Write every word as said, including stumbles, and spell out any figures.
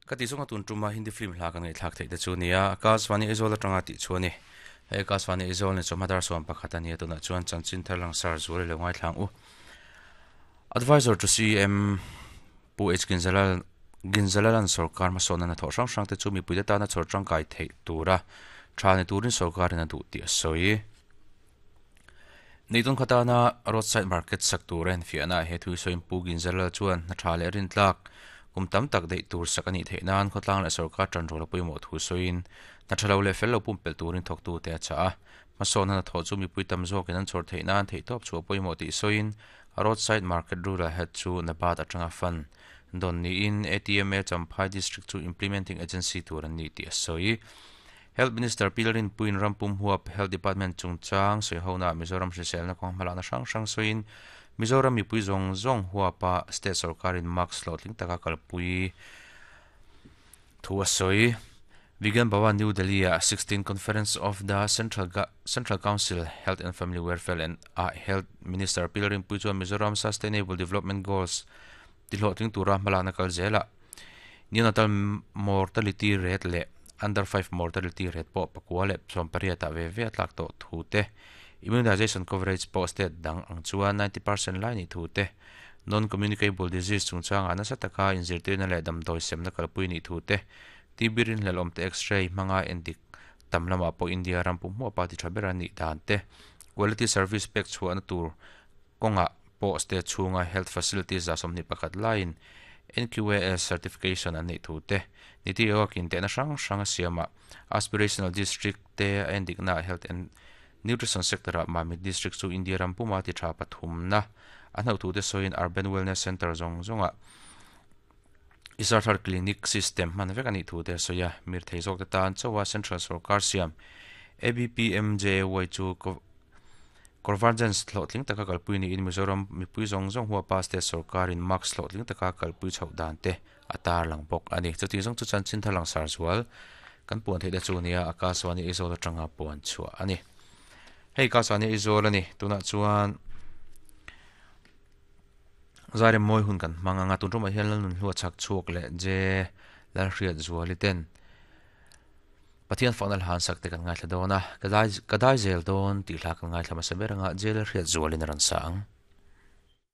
Ka ti zawnga tun tuma Hindi film hla kan ngaihthlak theih te chu nia Akashvani Aizawl atanga tih chu ani. Hei Akashvani Aizawl ni chawhma dar sawm pakhat ania tunah chuan chanchin thar langsar zual i lo ngaithlang u. Advisor to C M Pu H Ginzalal Ginzalalan sarkar hmasawnna hnathawh hrang hrang te chu mipui te tana chhawr tangkai theih tura tha ni turin sarkarin a duh tih a sawi. Neitun khatana roadside market sak tur a enfiahna ah he thu sawiin Pu Ginzalal chuan hna tha leh rintlak kum tam tak daih tur sak anih theih nan khawtlang leh sarkar tan rawl a pawimawh thu sawiin hna tha lo leh fel lo pumpelh turin thawktu te a chah a. Hmasawnna hnathawh chu mipui tam zawkin an chhawr theih nan theihtawp chhuah pawimawh tih sawiin roadside market rural head chu NABARD atanga fund dawn niin A T M A Champhai District chu implementing agency tur an ni tih a sawi. Health Minister Pi Lalrinpuiin rampum huap Health Department chungchang sawihona Mizoram hriselna kawng hmalakna hrang hrang sawiin Mizoram mipui zawng zawng huapa state sarkarin mask hlawhtling taka kalpui thu a sawi. Vigyan Bhawan, New Delhi a sixteen Conference of the Central Central Council Health and Family Welfare and a Health Minister Pi Lalrinpui chuan Mizoram Sustainable Development Goals tihlawhtling tura hmalakna kal zela neonatal mortality rate leh under five mortality rate pawh pakua leh sawm pariat ah ve ve a tlak tawh thu te, immunization coverage pawh state dang ang chuan ninety percent lai ni thu te, non communicable disease chungchangah nasa taka inzirtirna leh damdawi semna kalpui ni thu te, T B rinhlelh awm te x-ray hmanga endik tam lamah pawh India ram pum hmuh pa ti tha ber anih dan te, quality service pek chhuahna tur kawngah pawh state chhunga health facilities za sawmhnih pakhat laiin N Q A S certification an neih thu te, Niti Aayog-in tehna hrang hrang a siamah aspirational district te a endikna health and nutrition sector-ah Mamit District chu India ram puma ti tha pathumna a hnaih thu te sawiin urban wellness center zawng zawngah Isarthar clinic system hman vek anih thu te a sawi a. Mir thei zawk te tan chawa central sarkar siam A B P M J A Y chu convergence hlawhtling taka kalpui niin Mizoram mipui zawng zawng huapa state sarkarin mask hlawhtling taka kalpui chhoh dan te a tar lang bawk ani. Chuti zawng chu chanchin thar langsar zual kan puan theih te chu nia Akashvani Aizawl atanga puan chhuah ani. Hei Akashvani Aizawl ani. Tunah chuan zairem mawi hun kan hmang anga tun tumah hian Lalnun hlua chak chhuak leh Je Lalhriat Zuali ten Pathian fakna hla an sak te kan ngaithla dawn a. Ka dai ka dai zel dawn tih hla kan ngaithla hmasa ber anga Je Lalhriat Zualin a rawn sa ang.